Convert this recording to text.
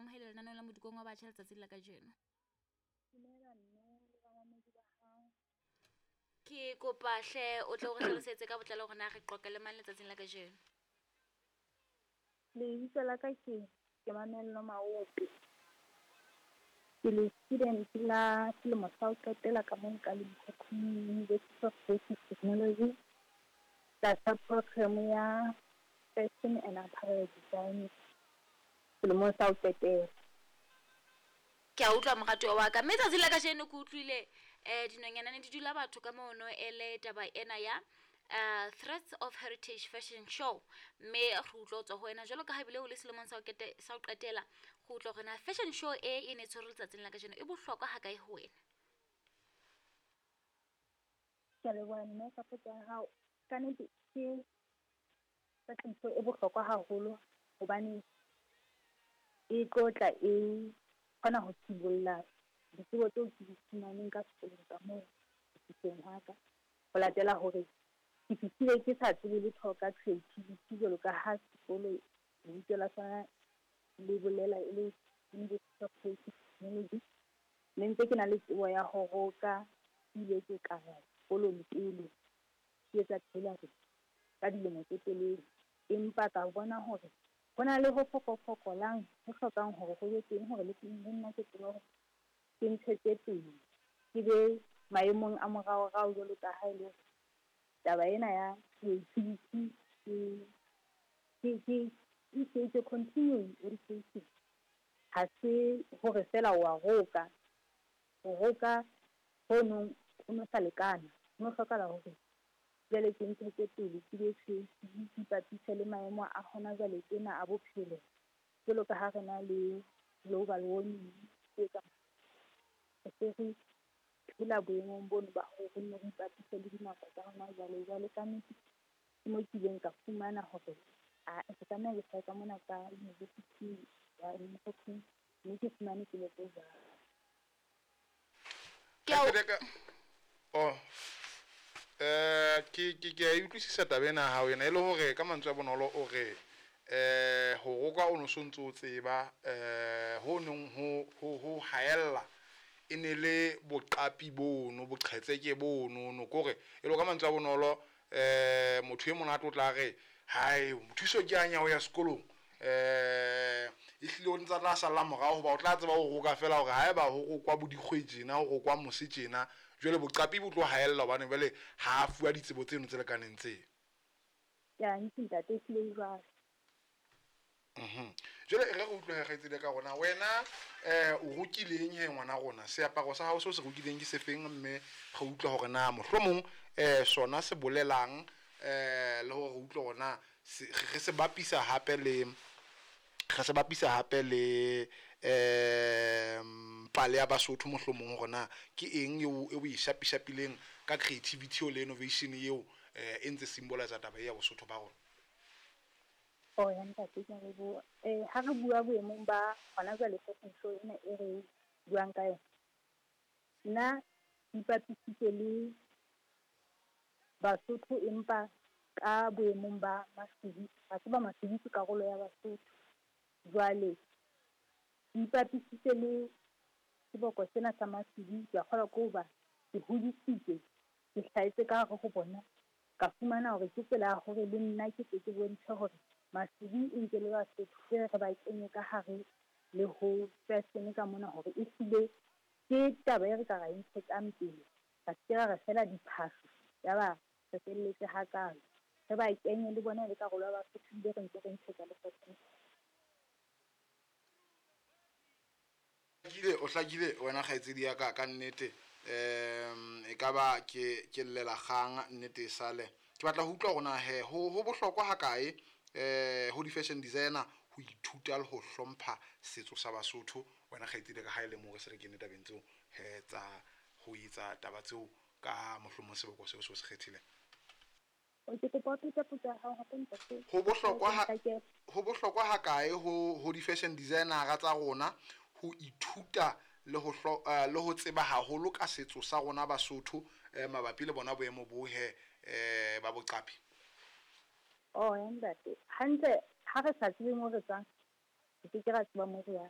amohele lenaneong la Modikong wa Batjha letsatsing la kajeno. Dumela mme le bamamedi ba hao. Ke kopa hle o tle o re hlalosetse ka botlalo hore na re qoqa le mang letsatsing la kajeno. Lebitso la ka ke ke Mamello Maope. Ke le student la selemo sa ho qetela ka mono ka Limkokwing University of Basic Technology tlasa program ya Fashion and Apparel Design selemong sa ho qetela. Ke a utlwa moratuwa wa ka. Mme tsatsing la kajeno ke utlwile um dinonyana ne di dula batho ka mono ele taba ena ya uh, Threats of Heritage Fashion Show. Mme re utlwa ho tswa ho wena jwalo ka ha ebile o le selemong sa ho kete- sa ho qetela go utlwa hore na fashion show e e ne e tshwerwe letsatsing la kajeno e bohlokwa ha kae ho wena. Ke a leboha mme ka potso ya hao. Ka nnete ke fashion show e bohlokwa haholo hobane e tlo tla e kgona ho sibolla ditsebo tseo ke di fumaneng ka sekolong ka moo ho fihleng hwa ka. Ho latela hore ke fihlile ke sa tsebe letho ka creativity jwalo ka ha sekolo lebitso la sona le bolela e le University of Creative Technology. Ne ntse ke na le tsebo ya ho roka, ke ile ke ka ya sekolong pele ke etsa tailoring ka dilemo tse telele. Empa ka bona hore ho na le ho fokofokolang ho hlokang hore ho be teng hore le nna ke tsebe hore ke ntshetse pele, ke be maemong a moraorao jwalo ka ha e le hore taba ena ya creativity ke ke ke it's a continuing education. Ha se hore feela wa roka, ho roka hono ho no sa lekana, ho no hlokahala hore jwale ke ntshetse pele ke be creative, ke ipapise le maemo a hona jwale tjena a bophelo. Jwalo ka ha re na le global warming e etsang re se re phela boemong bono ba hore re nne re ipapise le dinako tsa hona jwale. Jwale ka nnete ke mo ke ileng ka fumana hore ae ke tlameha ke hlahe ka mona ka university ya Limkokwing mme ke fumane tsebo tse jwalo. Ke a o- Oh. Ke ke ke a e utlwisisa taba ena ya hao ena e le hore ka mantswe a bonolo o re ho roka o no so ntso o tseba ho neng ho ho ho haella e ne le boqapi bono boqhetseke bono no kore e le ka mantswe a bonolo motho e monate o tla re hae thuso ke anya ho ya sekolong ehlile o ntsa tla salla morao hoba o tla tseba ho roka fela hore haeba ho rokwa bo dikgwe tjena ho rokwa mose tjena jwale boqapi bo tlo haella hobane jwale ha a fuwa ditsebo tseno tse lekaneng tse. Ya ntse ntate ehlile e jwalo. Jwale e re re utlwe he kgaitsedi ya ka rona wena o rokileng he ngwana rona seaparo sa hao seo se rokileng ke sefeng mme re utlwe hore na mohlomong sona se bolelang le hore re utlwe hore na re se bapisa hape le re se bapisa hape le pale ya Basotho mohlomong hore na ke eng eo e o e shapishapileng ka creativity eo le innovation eo e ntse symbolize taba e ya Bosotho ba rona. Oh ya ntate ke a leboha. Ha re bua boemong ba hona jwale fashion show ena e re buang ka yona. Nna ke ipapisitse le Basotho empa ka boemong ba Masibi. Wa tseba Masibi ke karolo ya Basotho. Jwale ke ipapisitse le seboko sena sa Masibi, ke a kgolwa ke hoba ke hodisitswe, ke hlahetse ka hare ho bona. Ka fumana hore ke tsela ya hore le nna ke tle ke bontshe hore Masibi e ntse le Basotho ke re ba kenye ka hare le ho fashion ka mona hore ehlile ke taba e re ka ra e ntshetsang pele. Ra se ke ra re fela diphahlo yaba re felletse hakalo. Re ba kenye le bona e le karolo ya Basotho ebile re ntse re ntshetsa le fashion. Hlakile, o hlakile wena kgaitsedi ya ka ka nnete. E ka ba ke ke llela kgang nnete e sale. Ke batla ho utlwa hore na he ho ho bohlokwa ha kae ho di-fashion designer ho ithuta le ho hlompha setso sa Basotho wena kgaitsedi ya ka ha e le moo re se re kene tabeng tseo he tsa ho etsa taba tseo ka mohlomong seboko seo se o se kgethileng. Ke kopa o phete potso ya hao hape ntate. Ho bohlokwa ha ho bohlokwa ha kae ho ho di-fashion designer-a tsa rona ho ithuta le ho hlo le ho tseba haholo ka setso sa rona Basotho mabapi le bona boemo bo he ba boqapi? Oh ya ntate, hantle ha re sa tsebe mo re tswang, re ke ke ra tseba mo re yang.